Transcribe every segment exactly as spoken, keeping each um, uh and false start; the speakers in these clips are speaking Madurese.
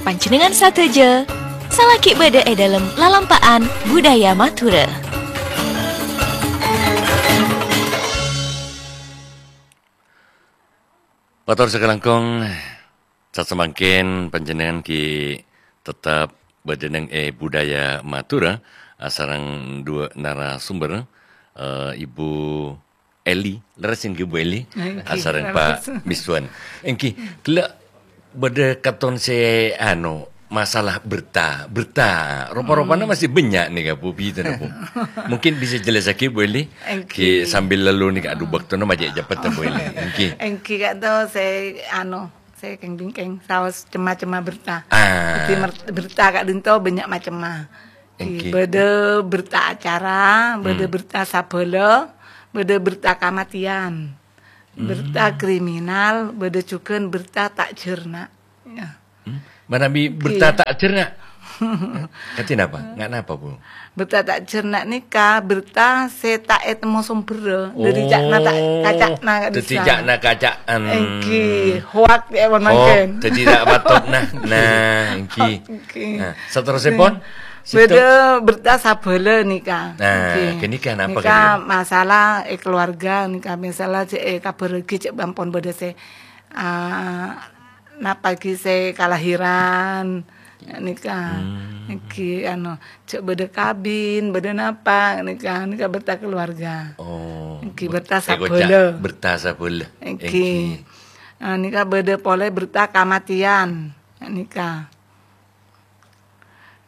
Panjhennengngan sadhâjâ, salaghi bâdâ è dâlem lalampa'an budaya Madhurâ. Mator sakalangkong, sasamangkèn panjhennengngan ghi' tettep bâdâ neng è budaya Madhurâ, asareng duwâ' narasumber, eh, Ibu Eli, lerres èngghi Bu Eli, Èngghi, asareng lerres. Pa' Miswan. Èngghi, ghellâ' bâdâ katon sè, anu, masalah berta, berta. Ropa-ropana Hmm. masih bânnya' nèka, Bu, bhidhâna, Bu. Mungkin bisa jelasaghi, Bu Eli, Èngghi. ghi' sambil lalo nèka, aduh, bâktona ma' cè' cepet, Bu Eli. Èngghi. Èngghi, ka'dinto sè, anu, sè kèng-bingkèng, saos cem-macemma berta. Ah. Dhâddhi mer-, berta ka'dinto bânnya' macemma. Èngghi. Bâdâ berta acara, bâdâ Hmm. berta sabâlâ, bâdâ berta kamatèyan, berta Hmm. kriminal, bâdâ jhughân berta ta' jhârna. Ya. Hmm. Manabi Èngghi. berta ta' jhârna? Kadhi napa? Nga' napa, Bu? Berta ta' jhârna nèka berta sè ta' ètemmo sombherra. Dhâddhi ca'na ta', Oh, ka ca'na dhâddhi ka'dissa'. ca'na ka ca'an. Èngghi, hoak ya, mon Oh, mangkèn. dhâddhi ta' patot, nah. Nah, èngghi. Èngghi. Nah, saterrossèpon? Bâdâ berta sabâlâ nèka. Nah, Èngghi. ghânèka napa Nèka ghânèka? masalah è keluarga nèka, masalah cè', eh, kabhârraghi cè' ampon bâdâ sè, ah, napa ghi sè kalahiran nèka. Hmm. Èngghi, anu, cè' bâdâ kabin, bâdâ napa nèka, nèka berta keluarga. Oh, Èngghi, ber-, berta èkoca' sabâlâ. berta sabâlâ. Èngghi. Èngghi. Ah, nèka bâdâ polè berta kamatèyan nèka.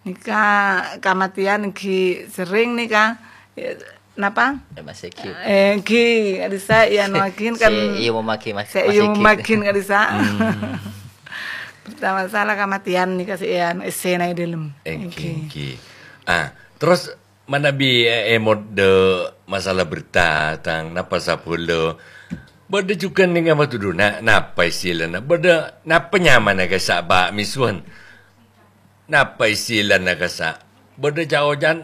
Nèka kamatèyan ghi serrèng nèka, eh, napa? Eh, masih cute. Eh, ghi, ka'dissa' ya, no, ghin kan Sè iumaghi, mas-, sè masih cute. iumaghi ka'dissa'. Hmm. Pertama salah kamatèyan nèka sè ya, no, essèna è dâlem. Èngghi, Èngghi. èngghi. Ah, terros manabi, eh, è modâ masalah berta, tang napa sabâlâ. Bâdâ jhughân nèng apa tudu, na-, napa istilana? Bâdâ napa nyamana ka'issa' Pa' Miswan? Napa istilana ka'issa'? Bâdâ ca-oca'an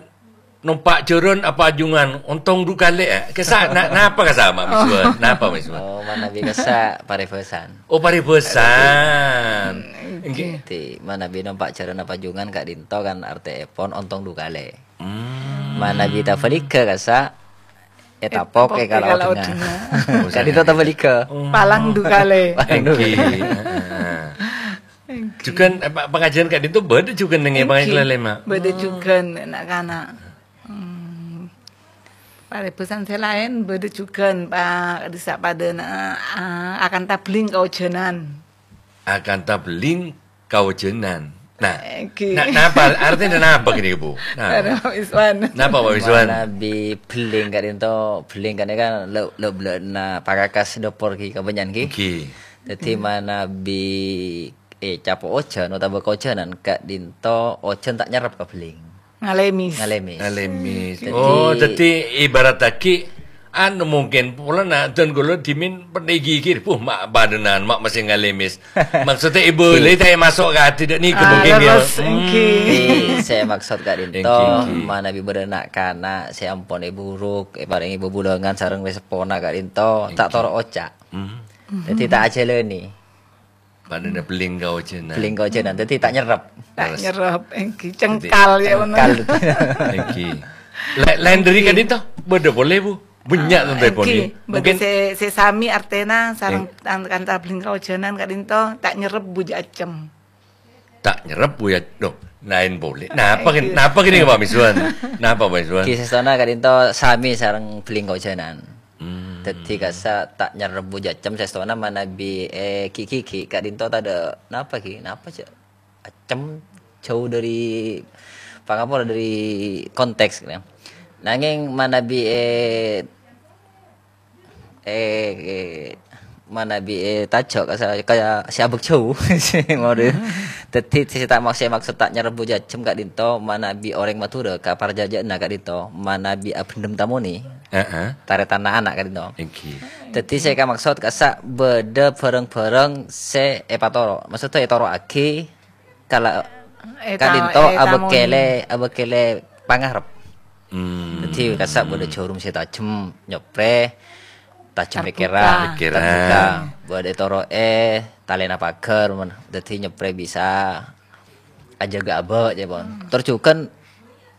nompa' jhârân apa ajungan, ontong du kalè, eh? Ka'issa' na-, napa ka'issa' Ma' Miswan? Napa Ma' Miswan? Oh, manabi ka'issa' paribhâsan. Oh, paribhâsan. Èngghi. Èngghi. Dhâddhi, manabi nompa' jhârân apa ajungan ka'dinto kan artèèpon ontong du kalè. Hmm. Manabi tabhâligâ ka'issa', ètapok, Ètapok, è kala èkala odengnga. odengnga. Ka'dinto tabhâligâ. Oh. Palang du kalè. Palang du kalè. Èngghi. Èngghi. Jhughân, eh, pa-, pangajhiyân ka'dinto bâdâ jhughân nèng è Èngghi. Pangajian lèma'. Bâdâ Hmm. jhughân na'-kana'. Hmm. Paribhâsan sè laèn bâdâ jhughân, Pa', ka'dissa' padâna, ah, akan tabling kaojhânan. Akan tabling kaojhânan. Nah, Èngghi. na-, napa, artèna napa ghânèka, Bu? Nah. Anu, Iswan. Napa, Pa' Iswan? Manabi bling ka'dinto, bling ka'dinto kan lè-, lè-, bellâna pakakas dâpor ghi, kabânnya'an ghi. Èngghi. Dhâddhi Hmm. manabi, eh, capo' ojhân otabâ kaojhânan ka'dinto ojhân ta' nyerrep ka bling. Ngalèmis. Ngalèmis. Ngalèmis. Dhâddhi Oh, dhâddhi ibarattaghi, anu, mungkin polana dân kaulâ dhimèn pènè ghighir, "Buh, ma' padânan, ma' masè ngalèmis." Maksudnya ibu Ghi. lè ta' maso' ka atè dâ' nèka Ah, mungkin ya. lerres, Hmm. èngghi. Ghi, sè maksod ka'dinto, Èngghi, èngghi. manabi bâdâ na'-kana' sè ampon èburuk, èparèngè bhubhulângan sareng rèseppona ka'dinto, ta' Èngghi. toro' oca'. Hmm. Dhâddhi ta' ajhâlânè. Padâna bling kaojhânan. Bling kaojhânan, dhâddhi ta' nyerrep. Ta' Terros. nyerrep, èngghi. Dhâddhi Cengkal, ya, cengkal. Èngghi. La-, laèn dhâri Èngghi. ka'dinto, bâdâ polè, Bu? Bânnya' Ah, tanto èngghi. èpon, ya. Bâdâ Mungkin sè, sè samè artèna sareng Èng- tan-, kanta bling kaojhânan ka'dinto, ta' nyerrep bu ja' accem. Ta' nyerrep bu ja', loh, laèn polè. Napa ghi-, Èngghi. napa ghânèka, Pa' Miswan? Napa, Pa' Miswan? Ghi sastona ka'dinto samè sareng bling kaojhânan. Hmm. Dhâddhi ka'issa' ta' nyerrep bu ja' accem sastona manabi, eh, ghi-, ghi-, ghi-, ka'dinto tadâ' napa ghi-, napa, Cak? Accem jhâu dhâri, pangapora dhâri konteks, gitu. Nangèng manabi, eh, eh, eh, manabi, eh, tajhâk ka sa-, ka sè abâk jhâu, sè model. Dhâddhi sè ta' mak-, sè maksod ta' nyerrep bu ja' accem ka'dinto manabi orèng Madhurâ ka parjhâjâna ka'dinto manabi abhendhem tamonè. Heeh. Tarètanna ana' ka'dinto. Èngghi. Dhâddhi sè kamaksod ka'issa' bâdâ bhârâng-bhârâng sè èpatoro'. Maksodda ètoro'aghi kala-, Eh, ka'dinto ta-, eh, abâkkèlè, tamonè. abâkkèlè pangarep. Hmm. Dhâddhi ka'issa' bâdâ jhârum sè tajem, nyoprè, tajem Tarbuka. pèkkèran, Pèkkèran. tarbuka. Bâdâ ètoro'è, talèna paghâr, mon. Dhâddhi nyoprè bisa. Ajâgâ abâ', ca'èpon. Hmm. Tor jhughân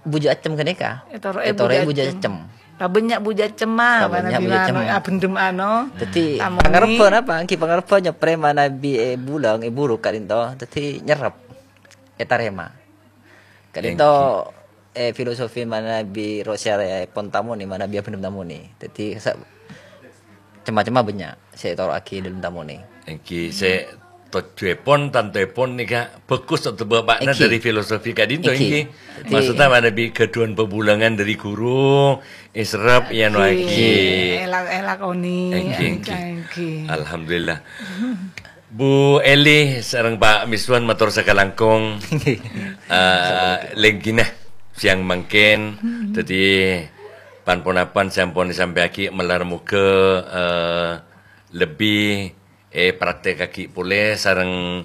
bujâ accem ghânèka. Ètoro'è bujâ accem. Ètoro'è bujâ accem. Bânnya' bujâ accem, ah, bânnya' bujâ accem. Abhendhem ano. Dhâddhi, pangarebbhâ napa? Èngghi pangarebbhâ nyoprè manabi èbulâng, èburuk ka'dinto. Dhâddhi nyerrep. Ètarèma. Ka'dinto, eh, filosofi manabi rosialèpon tamonè, manabi abhendhem tamonè. Dhâddhi, sa-, cem-macemma bânnya' sè ètoro'aghi dâlem tamonè. Èngghi, sè tojjhuèpon, tantoèpon nèka bhâghus otobâ bâ'na dâri filosofi ka'dinto, èngghi. Maksudnya manabi ghâdhuwân pabulângan dâri ghuru, èserrep, èanoaghi. Èla-, èlakonè. Èngghi, èngghi. Alhamdulillah. Bu Eli sareng Pak Miswan mator sakalangkong, eh, lèngghina siang mangkèn. Dhâddhi, pan-ponapan sè ampon èsampèyaghi, malar moghâ, eh, lebbi èpraktèkaghi polè sareng,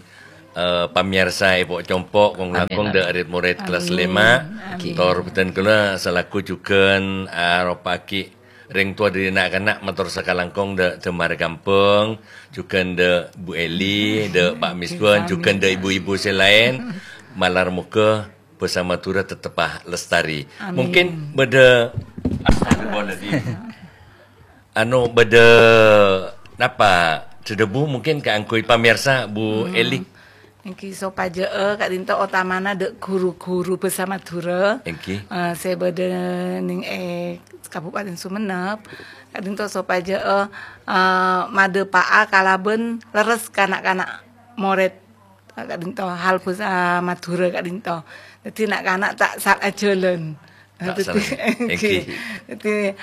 eh, pamèyarsa Epok Compo', kong-langkong dâ' rit-morèt kellas lèma'. Tor bhâdhân kaulâ salaku jhughân aropa'aghi rèng towa dâri na'-kana' mator sakalangkong dâ' Dâmar Kampeng, jhughân dâ' Bu Eli, dâ' Pak Miswan, jhughân dâ' ibu-ibu sè laèn. Malar moghâ bhâsa Madhurâ tettebbhâ lestari. Mungkin bâdâ, astagfirullahaladzim. Anu, bâdâ napa dhâdhâbu mungkin kaangghuy pamèyarsa, Bu Eli? Èngghi sopajâ'â ka'dinto otamana dâ' ru-ghuru bhâsa Madhurâ, èngghi, eh, sè bâdâ nèng è Kabupaten Sumenep, ka'dinto sopajâ'â, eh, madhâpa'a kalabân lerres ka na'-kana' morèd. Ka'dinto hal bhâsa Madhurâ ka'dinto. Dhâddhi na'-kana' ta' sala jhâlân. Ta' sala, èngghi. Dhâddhi,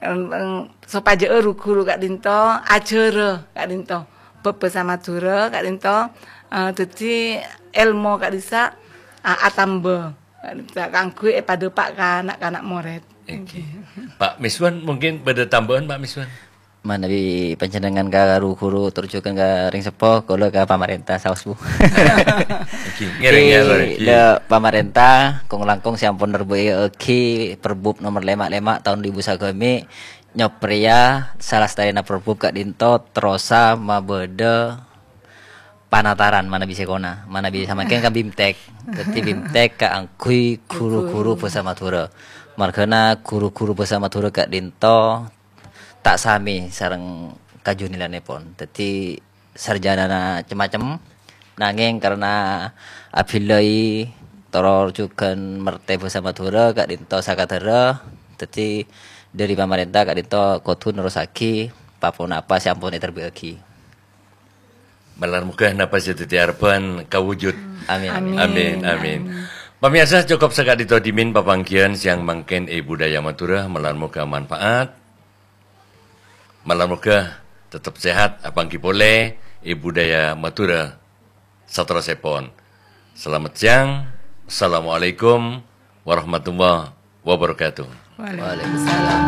em, em, sopajâ'â ru-ghuru ka'dinto ajhârâ ka'dinto bhâb bhâsa Madhurâ ka'dinto, eh, dhâddhi èlmo ka'dissa', a-, atamba. Ka'dinto kaangghuy èpadhâpa' ka na'-kana' morèd. Èngghi. Pak Miswan, mungkin bâdâ tambâ'ân, Pak Miswan? Manabi panjhennengngan ka ru-ghuru tor jhughân ka rèng seppo, kaulâ ka pamarènta saos, Bu. Èngghi, ngèrèng ya, Pak, èngghi. Dâ' pamarènta, kong-langkong sè ampon nerbi'aghi Perbub nomer lèma' lèma' taon duwâ èbu sagâmè', nyoprèya salastarèna Perbub ka'dinto terrosa mabâdâ panataran manabi sèkona, manabi samangkèn ka BIMTEK. Dhâddhi BIMTEK kaangghuy ru-ghuru bhâsa Madhurâ. Marghâna ru-ghuru bhâsa Madhurâ ka'dinto ta' samè sareng kajunillanèpon. Dhâddhi sarjanana cem-macem, nangèng karna abhillai tor jhughân mertè bhâsa Madhurâ ka'dinto sakadârâ, dhâddhi dâri pamarènta ka'dinto kodhu nerrossaghi pa-ponapa sè ampon èterbi'aghi. Malar moghâ napa sè dhâddhi arebbhân kawujud. Amin. Amin. Amin, amin. Pamèyarsa, cokop saka'dinto dhimèn papangghiyân siang mangkèn è Budaya Madhurâ, malar moghâ manfaat. Malar moghâ tetep sehat, apangghi polè è Budaya Madhurâ saterrossèpon. Selamat siang. Assalamualaikum warahmatullahi wabarakatuh. Waalaikumsalam.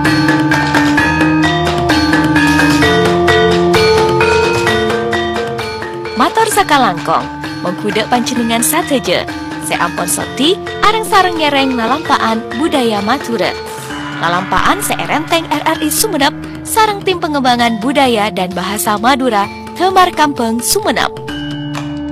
Mator sakalangkong, mongghu dâ' panjhennengngan sadhâjâ sè ampon soddhi areng-sareng ngèrèng lalampa'an budaya Madhurâ. Lalampa'an sè èrèntèng R R I Sumenep sareng Tim Pengembangan Budaya dan Bahasa Madura, Dâmar Kambâng, Sumenep.